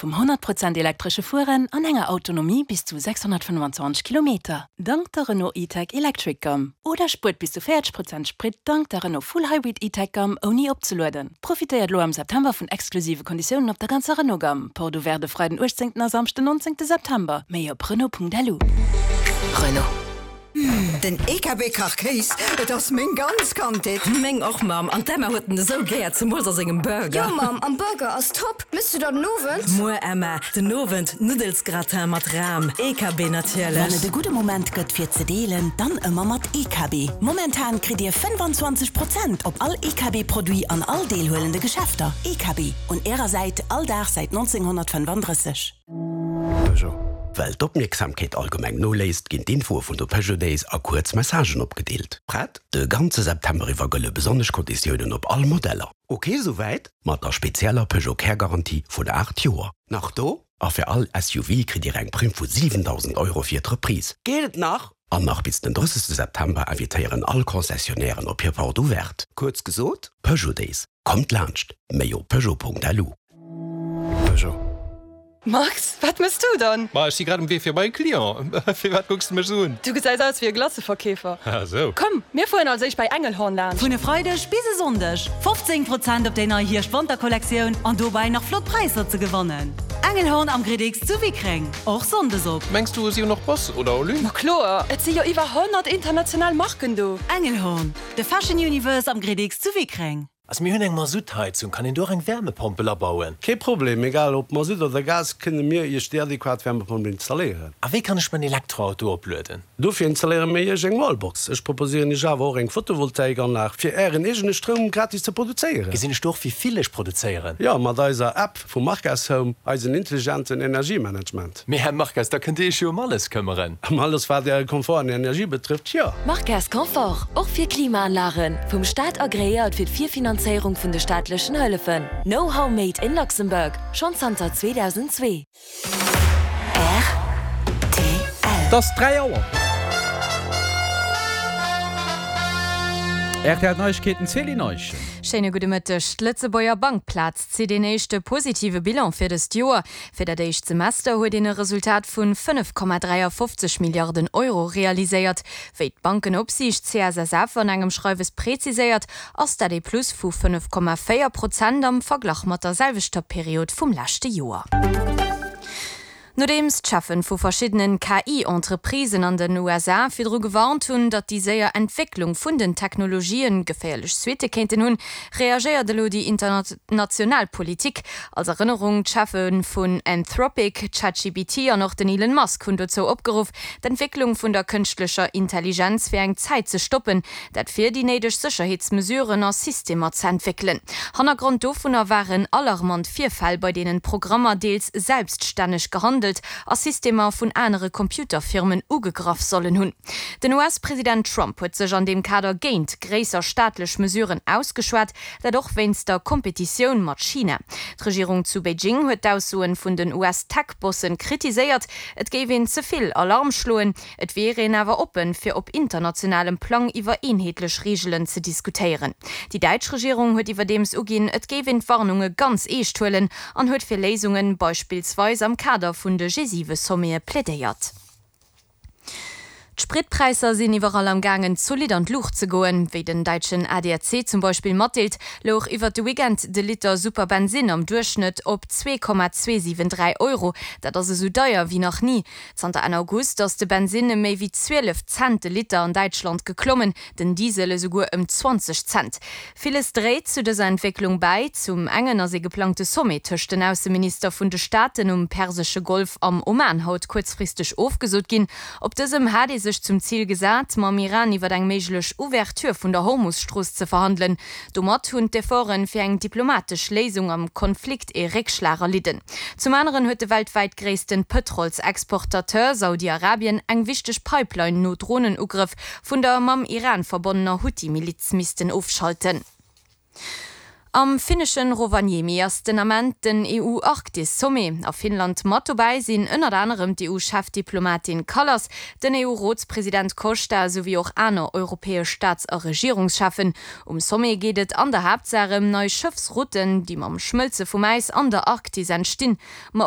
vum 100 Prozent elektresche Fueren an enger Autonomie bis zu 625 Kilometer, dank der Renault E-Tech Electric Gamme. Oder spuert bis zu 40 Prozent Sprit dank der Renault Full Hybrid E-Tech Gamme ouni opzelueden. Profitéiert elo am September vun exklusive Konditiounen op der ganzer Renault Gamme. Porte ouverte de Freiden 18 a Samschden 19 September. Méi op Renault.lu. Renault. Den EKB Kachkéis, et ass meng ganz Kandheet. Meng och Mamm, an d'Emma huet en esou gär, zemools a sengem Burger. Jo Mamm, am Burger ass top. Mëss du der den Owend? Muer Emma, den Owend Nuddelsgratin mat Ram, EKB natierlech. Wann et e gudde Moment gëtt fir ze deelen, dann ëmmer mat EKB. Momentan kritt Dir 25 Prozent op all EKB Produit an all deelhuelende Geschäfter. EKB, un Ärer Säit all Dag säit 1935. Peugeot. Well d'Opmierksamkeet allgemeng noléisst, ginn d'Infoe vun de Peugeot Days a kuerz Messagen opgedeelt. Prett? De ganze September iwwer gëlle besonnesch Konditiounen op all Modeller. Ok, souwäit? Mat der spezieller Peugeot Care Garantie vun 8 Joer. Nach do? A fir all SUV kritt Dir eng Primm vu 7.000 Euro fir d'Reprise. Geet et nach? An nach bis den 30 September invitéieren all Concessionnairen op hir Porte Ouverte. Kuerz gesot, Peugeot Days, kommt laanscht! Méi op peugeot.lu. Peugeot. Max, wat mëss du dann? Ma ech si grad um Wee fir bei e Client. Firwat kucks de mech esou un? Du gesäis aus wéi e Glaceverkeefer. Ah sou. Komm, mir fueren als éischt bei Engelhorn laanscht. Vun e Freideg bis e Sonndeg 15 Prozent op déi nei Hierscht-Wanter-Kollektioun an dobäi nach flott Präisser ze gewannen. Engelhorn am Gridix zu Wickreng, och Sonndes op. Mengs du si hunn och Boss oder Olymp? Ma kloer, et si jo iwwer 100 international Marken do. Engelhorn, de Fashion Universe am Gridix zu Wickreng. Also mir hunn eng Masuttheizung, kann een do och eng Wärmepompel abauen? Kee Problem, egal ob Masutt oder Gas, kënne mir Iech déi adequat Wärmepompel installéieren. A wéi kann ech mäin Elektroauto oplueden? Dofir installéiere mir Iech eng Wallbox. Ech proposéieren Iech awer och eng Photovoltaikanlag, fir Ären eegene Stroum gratis ze produzéieren. Gesinn ech do och wéi vill ech produzéieren? Jo, mat eiser App vu Marques Home, eisen intelligenten Energiemanagement. Mee Här Marques, da kënnt Dir Iech jo ëm alles këmmeren. Ëm alles wat Äre Komfort an Energie betrëfft, jo. Marques Confort, och fir Klimaanlagen, vum Staat agreéiert fir d'Virfinanzéierung vun de staatlechen Hëllefen. Know-how made in Luxembourg, schonn zanter 2002. Rtl. Et ass 3 Auer. Rtl Neiegkeeten, Céline Eischen. Schéine gudde Mëtteg. D'Lëtzebuerger Bankplaz zitt een éischte positive Bilan fir dëst Joer. Fir dat éischt Semester huet een e Resultat vun 5,53 Milliarden Euro realiséiert. Wéi d'Bankenopsiicht CSSF an engem Schreiwes preziséiert, ass dat ee Plus vu 5,4 Prozent am Verglach mat der selwechter Period vum leschte Joer. Nodeems d'Cheffen vu verschiddenen KI-Entreprisen an den USA virdru gewarnt hunn, datt déi séier Entwécklung vun den Technologien geféierlech Suitte kéinten hunn, reagéiert elo déi international Politik. Als Erënnerung, D'Cheffe vun Anthropic, ChatGPT an och den Elon Musk hunn dozou opgeruff, d'Entwécklung vun der kënschtlecher Intelligenz fir eng Zäit ze stoppen, Dat fir déi néideg Sécherheetsmesuren a Systemer ze entwéckelen. Hannergrond dovunner waren alarmant Virfäll, bei deenen Programmer deels selbststänneg gehandelt a Systemer vun anere Computerfirmen ugegraff sollen hunn. Den US-President Trump huet sech an deem Kader géint gréisser staatlech Mesuren ausgeschwat, dat och wéinst der Kompetitioun mat China. D'Regierung zu Beijing huet d'Aussoen vun den US-Tech-Bossen kritiséiert, et géif een ze vill Alarm schloen. Et wier een awer oppen, fir op internationalem Plang iwwer eenheetlech Reegelen ze diskutéieren. Déi däitsch Regierung huet iwwerdeems uginn, et géif een d'Warnunge ganz eescht huelen an huet fir Léisungen, beispillsweis am Kader vun de G7-Sommete plädéiert. D'Spritpräisser sinn iwwerall am gaangen zolidd an d'Luucht ze goen. Wéi den däitschen ADAC zum Beispill matdeelt, louch iwwert de Weekend de Liter Superbensinn am Duerchschnëtt op 2,273 Euro. Dat ass esou deier wéi nach ni. Zanter Enn August ass de Bensinn ëm méi wéi 12 Cent de Liter an Däitschland geklommen, den Diesel esouguer ëm 20 Cent. Villes dréit zu dëser Entwécklung bäi. Zum engen ass ee geplangte Sommet tëscht den Ausseminister vun de Staaten um persesche Golf am Oman haut kuerzfristeg ofgesot ginn. Op dësem hat ee sech zum Zil gesat, mam Iran iwwer eng méiglech Ouverture vun der Hormus-Strooss ze verhandelen. Domat hunn d'Efforten fir eng diplomatesch Léisung am Konflikt ee Réckschlag erlidden. Zum aneren huet de weltwäit gréissten Pëtrolsexportateur Saudi-Arabien eng wichteg Pipeline no Dronenugrëff vun der mam Iran verbonnener Huthi-Miliz missten ofschalten. Am finneschen Rovaniemi ass den Ament den EU-Arktis-Sommet. A Finnland mat dobäi sinn ënnert anerem d'EU-Chefdiplomatin Kallas, den EU-Rotspresident Costa esouwéi och aner europäesch Staats a Regierungscheffen. Um Sommet geet et an der Haaptsaach ëm nei Schëffsrouten, déi mam Schmëlze vum Äis an der Arktis entstinn. Ma.